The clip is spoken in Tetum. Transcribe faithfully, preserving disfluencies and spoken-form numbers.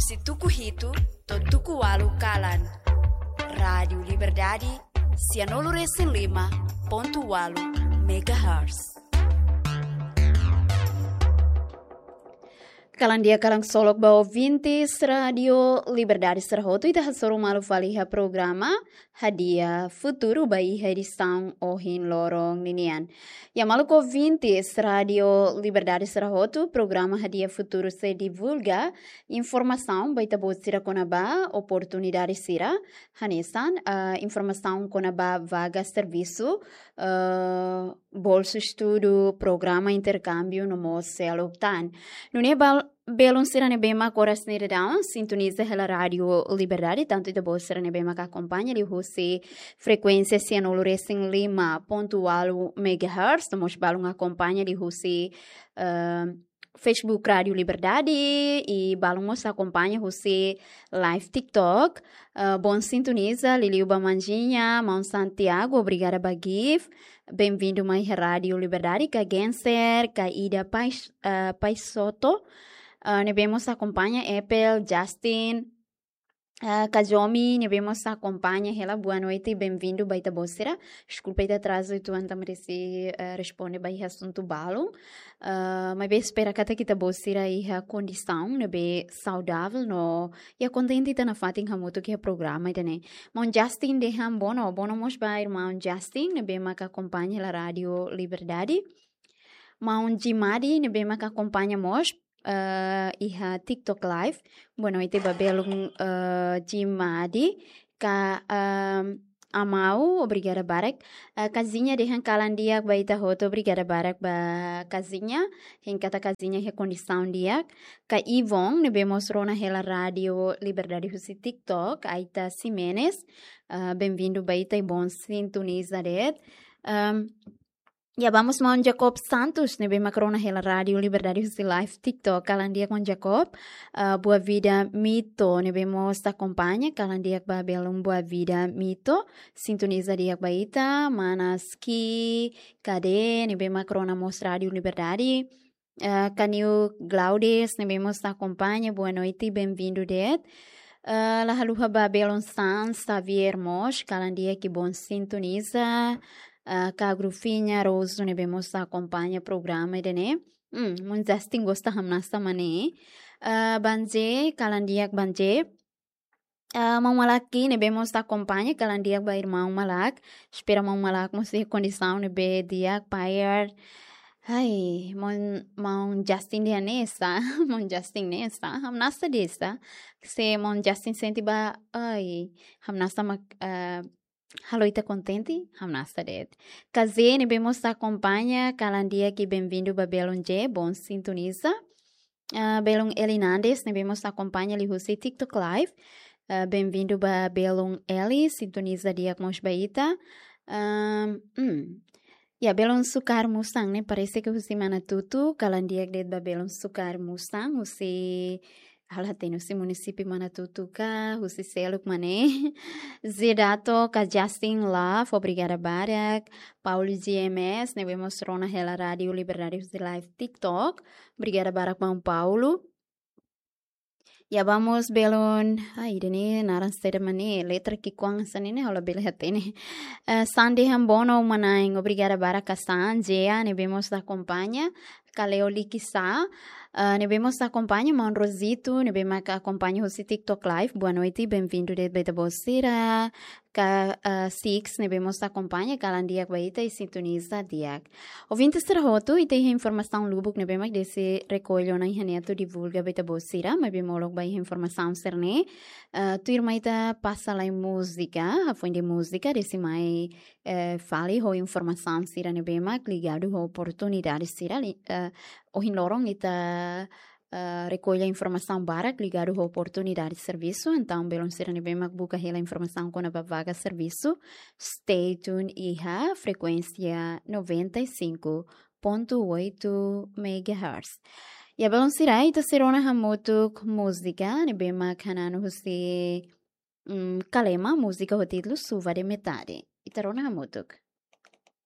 Husi tuku hitu to'o tuku ualu kalan. Rádiu Liberdade, sianulu resin lima pontu ualu megahertz. Kalan di'ak, kalan ksolok ba ouvintes Rádiu Liberdade sira hotu, ita hasoru malu fali iha programa Hadi'a Futuru ba iha edisaun ohin loron ninian. Ya maluk ouvintes Rádiu Liberdade sira hotu, programa Hadi'a Futuru sei divulga informasaun ba ita-boot sira kona-ba oportunidade sira, hanesan, ah, informasaun kona-ba vaga servisu, ah, bolsu estudu, programa interkámbiu no mós seluk tan. Nune'e bal-, belun sira ne'ebé mak oras ne'e daudaun sintoniza hela Rádiu Liberdade, tantu ita-boot sira ne'ebé mak akompaña liuhusi frekuénsia sianulu resin lima pontu ualu megahertz, no mós balun akompaña liuhusi, eh, Facebook Rádiu Liberdade, i balun mós akompaña husi live TikTok. Eh, bon sintoniza, liuliu ba Manjinha, Maun Santiago, obrigada ba gift. Benvindu mai iha Rádiu Liberdade, ka Genser, ka Ida Pais-, eh, Paisoto. Eh, ne'ebé mós akompaña, Apple, Justin, eh, ka Jomi, ne'ebé mós akompaña hela, boa noite, benvindu ba ita-boot sira. Deskulpa ita atrazu, ita entaun merese, eh, responde ba iha asuntu balun. Eh, maibé espera katak ita-boot sira iha kondisaun ne'ebé saudavel no iha kontente ita nafatin hamutuk iha programa ida-ne'e. Maun Justin dehan bono, bono mós ba irmaun Justin, ne'ebé mak akompaña hela Rádiu Liberdade. Maun Jimadi, ne'ebé mak akompaña mós, eh, iha TikTok Live. Boa noite ba belun, eh, Jimadi. Ka, ehm, Amau, obrigada barak. Eh, Kazinha dehan kalan di'ak ba ita hotu, obrigada barak ba Kazinha. Hein katak Kazinha iha kondisaun di'ak. Ka Ivon, ne'ebé mós rona hela Rádiu Liberdade husi TikTok, Aita Ximenes. Eh, benvindu ba ita i bon sintoniza de'it. Ehm, Ya, vamos, Maun Jacob Santos, ne'ebé mak rona hela Rádiu Liberdade husi live TikTok. Kalan di'ak, Maun Jacob. Ah, Boa Vida Mito, ne'ebé mós akompaña. Kalan di'ak ba belun Boa Vida Mito. Sintoniza di'ak ba ita. Mana Ski Kade, ne'ebé mak rona mós Rádiu Liberdade. Ah, Kaniu Glaudes, ne'ebé mós akompaña. Boa noite, benvindu de'it. Ah, la haluha ba belun San Xavier mós, kalan di'ak i bon sintoniza. Ah, ka Grufinha Rosu, ne'ebé mós akompaña programa ida-ne'e. Hmm, Maun Justin gosta hamnasa mak ne'e. Ah, Banje, kalan di'ak Banje. Ah, Maun Malak, ne'ebé mós akompaña, kalan di'ak ba irmaun Malak. Espera Maun Malak mós iha kondisaun ne'ebé di'ak, payer. Ai, Maun, Maun Justin dehan ne'e sá, Maun Justin ne'e sá, hamnasa de'it sá. Se Maun Justin sente ba, ai, hamnasa mak, ah, halo ita kontente, hamnasa de'it. Kaze, ne'ebé mós akompaña, kalan di'ak i benvindu ba belun J, bon sintoniza. Ah, belun Eli Nandes, ne'ebé mós akompaña liuhusi TikTok Live. Ah, benvindu ba belun Eli, sintoniza di'ak mós ba ita. Ahm, hmm. Ya, belun Sukar Musang ne'e, parese ke husi Manatutu, kalan di'ak de'it ba belun Sukar Musang, husi, ha'u la hatene husi munisípiu Manatutu ka, husi seluk mak ne'e. Zedato ka Justin Love, obrigada barak. Paulo G M S, ne'ebé mós rona hela Rádiu Liberdade husi live TikTok. Obrigada barak, Maun Paulo. Ya, vamos belun. Ai, ida-ne'e naran saida mak ne'e, letra ki'ikoan hanesan ne'e, ha'u labele hatene. Eh, San dehan bono, uma-na'in, obrigada barak ka San, Jea, ne'ebé mós akompaña, ka Leo Likisa, eh, ne'ebé mós akompaña, Maun Rosito, ne'ebé mak akompaña husi TikTok Live, boa noite, benvindu de'it ba ita-boot sira. Ka, ah, Six, ne'ebé mós akompaña, kalan di'ak ba ita i sintoniza di'ak. Ouvinte sira hotu, ita iha informasaun lubuk ne'ebé mak Desi rekolla ona iha ne'e atu divulga ba ita-boot sira, maibé molok ba iha informasaun sira-ne'e. Ah, tuirmai ita pasa lai múzika, hafoin de'it múzika, Desi mai, eh, fali ho informasaun sira ne'ebé mak ligadu ho oportunidade sira li-, eh, ohin loron ita eh, rekolla informasaun barak ligadu ho oportunidade servisu, entaun belun sira ne'ebé mak buka hela informasaun kona-ba vaga servisu, stay tuned iha frekuénsia noventa e cinco ponto oito megahertz. Ya belun sira, ita sei rona hamutuk múzika ne'ebé mak hananu husi, mm, Kalema, múzika ho títulu Chuva de Metade. Ita rona hamutuk.